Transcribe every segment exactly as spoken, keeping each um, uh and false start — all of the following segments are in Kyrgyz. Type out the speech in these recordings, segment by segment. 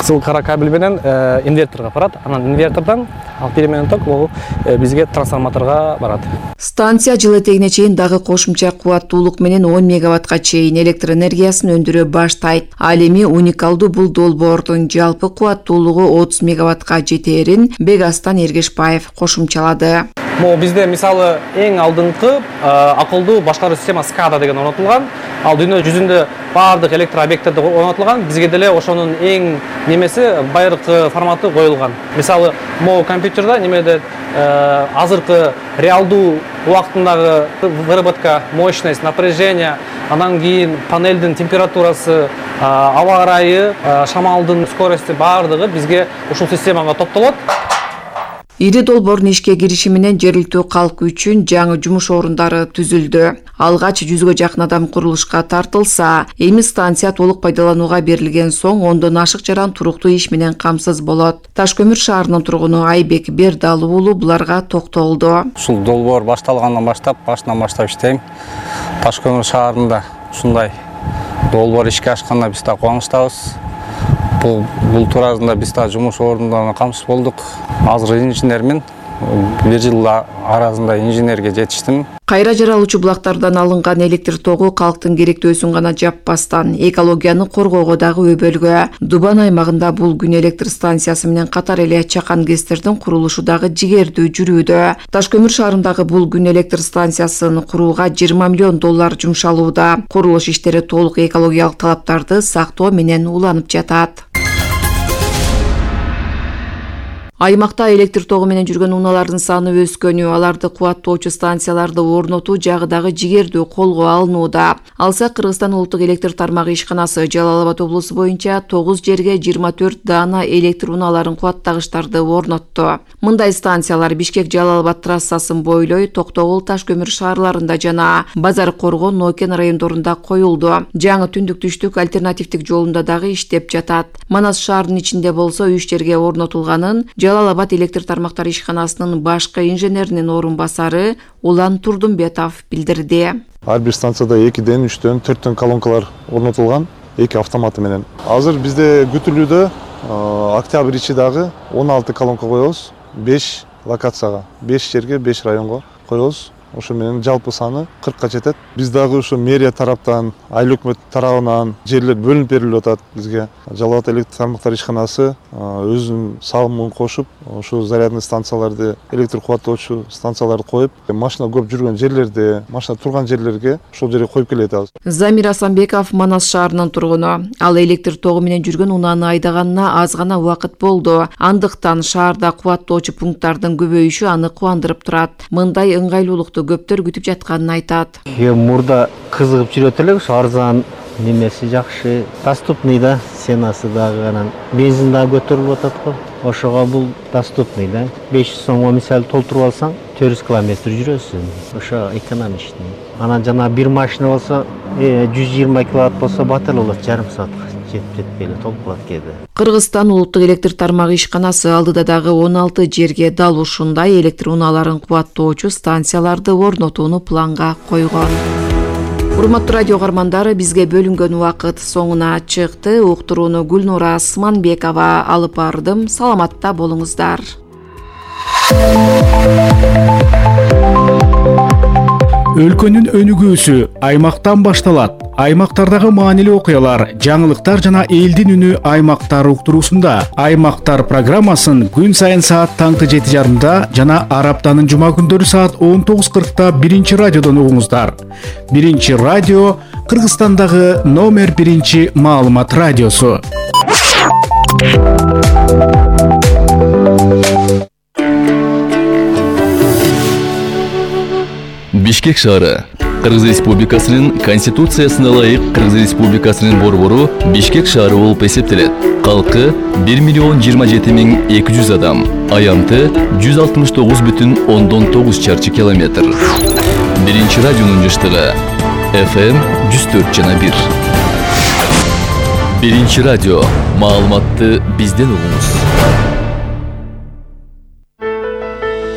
кызыл кара кабель менен инверторго барат. Анан инвертордон ал переменный ток бул бизге трансформаторго барат. Станция жыл этегине чейин дагы кошумча кубаттуулук менен он мегаваттка чейин электр энергиясын өндүрө баштайт. Ал эми уникалдуу бул долбоордун жалпы кубаттуулугу отуз мегаваттка жетээрин Бегастан Эргешбаев кошумчалады. Могу бизде мисалы эң алдыңкы акылдуу башкаруу системасы скада деген орнотулган. Ал дүйнө жүзүндө баардык электр объекттерде орнотулган. Бизге деле ошонун эң немеси байыркы форматы коюлган. Мисалы могу компьютерде немеде азыркы реалдуу убактындагы выработка, мощность, напряжение, анан кийин панелдин температурасы, аба ырайы, шамалдын скорости баардыгы бизге ушул системага топтолот. Ири долбоордун ишке кириши менен жергиликтүү калк үчүн жаңы жумуш орундары түзүлдү. Алгач жүзгө жакын адам курулушка тартылса, эми станция толук пайдаланууга берилген соң ондон ашык жаран туруктуу иш менен камсыз болот. Таш көмүр шаарынын тургуну Айбек Бердалуу уулу буларга токтолду. Ушул долбоор башталгандан баштап, башынан баштап иштейм. Таш көмүр шаарында ушундай долбоор ишке ашканда биз да кубанычтабыз. Бул бул туурасында биз да жумуш орундарына камсыз болдук. Азыр инженермин. бир жыл арасында инженерге жетиштим. Кайра жаралуучу булактардан алынган электр тогу калктын керектөөсүн гана жаппастан, экологияны коргоого дагы өбөлгө. Дубан аймагында бул күн электр станциясы менен катар эле чакан гэстердин курулушу дагы жигердүү жүрүүдө. Таш көмүр шаарындагы бул күн электр станциясын курууга жыйырма миллион доллар жумшалууда. Курулуш иштери толук экологиялык талаптарды сактоо менен уланып жатат. Аймакта электр тогу менен жүргөн унаалардын саны өскөнү, аларды кубаттоочу станцияларды орнотуу жагы дагы жигердүү колго алынууда. Алса Кыргызстан улуттук электр тармагы ишканасы Жалал Абад облусу боюнча тогуз жерге жыйырма төрт даана электр унааларын кубаттагычтарды орнотту. Мындай станциялар Бишкек Жалал Абад трассасын бойлой Токтогул Таш көмүр шаарларында жана Базар Коргон Нокен райондорунда коюлду. Жаңы түндүк түштүк альтернативдик жолунда дагы иштеп жатат. Манас шаарынын ичинде болсо үч жерге орнотулганын Жалал Абад электр тармактары ишканасынын башкы инженеринин орун басары Улан Турдумбетов билдирди. Ар бир станцияда экиден, үчтөн, төрттөн колонкалар орнотулган, эки автоматы менен. Азыр бизде күтүлүүдө октябрь ичи дагы он алты колонка коебуз, беш локацияга, беш жерге, беш районго коебуз. Ошо менен жалпы саны кыркка жетет. Биз дагы ушу мэрия тараптан, айыл өкмөт тарабынан жерлер бөлүнүп берилип атат бизге. Жалал Абад электр тармактары ишканасы өзүнүн салымын кошуп, ошо зарядный станцияларды, электр кубаттоочу станцияларды коюп, машина көп жүргөн жерлерде, машина турган жерлерге ошол жерге коюп келет атабыз. Замир Асанбеков Манас шаарынын тургуну. Ал электр тогу менен жүргөн унааны айдаганына аз гана убакыт болду. Андыктан шаарда кубаттоочу пункттардын көбөйүшү аны кубандырып турат. Мындай ыңгайлуулукту көптөр күтүп жатканын айтат. Мурда кызыгып жүрөт элек, арзан, немеси жакшы, доступный да, ценасы дагы анан бензин дагы көтөрүлүп атат го. Ошого бул доступный да. беш жүз сомго мисалы толтуруп алсаң, төрт жүз километр жүрөсүң. Ошо экономичный. Анан жана бир машина болсо, жүз жыйырма киловатт болсо батыр болот, жарым саатка жетип жетпей эле толуп калат кээде. Кыргызстан улуттук электр тармагы ишканасы алдыда дагы он алты жерге дал ушундай электр унааларын кубаттоочу станцияларды орнотууну планга койгон. Урматтуу радио каармандары, бизге бөлүнгөн убакыт соңуна чыкты. Уктурууну Гүлнура Асманбекова алып бардым. Саламатта болуңуздар. Өлкөнүн өнүгүүсү аймактан башталат. Аймактардагы маанилүү окуялар, жаңылыктар жана элдин үнү аймактар уктуруусунда. Аймактар программасын күн сайын саат таңкы жети жарымда жана араптанын жума күндөрү саат он тогуз кыркта биринчи радиодон угуңуздар. Биринчи радио Кыргызстандагы номер биринчи маалымат радиосу. Бишкек шаары Кыргыз Республикасынын Конституциясына ылайык Кыргыз Республикасынын борбору Бишкек шаары болуп эсептелет. Калкы бир миллион жыйырма жети миң эки жүз адам, аянты жүз алтымыш тогуз бүтүн ондон тогуз чарчы километр. Биринчи радионун жыштыгы эф эм жүз төрт жана бир. Биринчи радио, маалыматты бизден угуңуз.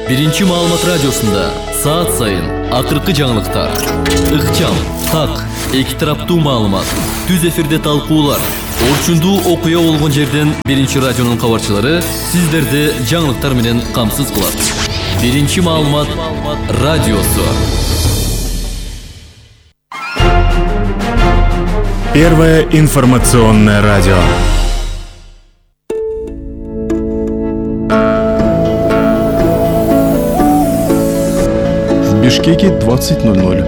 Биринчи маалымат радиосунда саат сайын акыркы жаңылыктар, ыкчам, так, эки тараптуу маалымат, түз эфирде талкуулар, Орчундуу окуя болгон жерден биринчи радионун кабарчылары сиздерди жаңылыктар менен камсыз кылат. Биринчи маалымат радиосу. Первое информационное радио. В Бишкеке двадцать ноль ноль.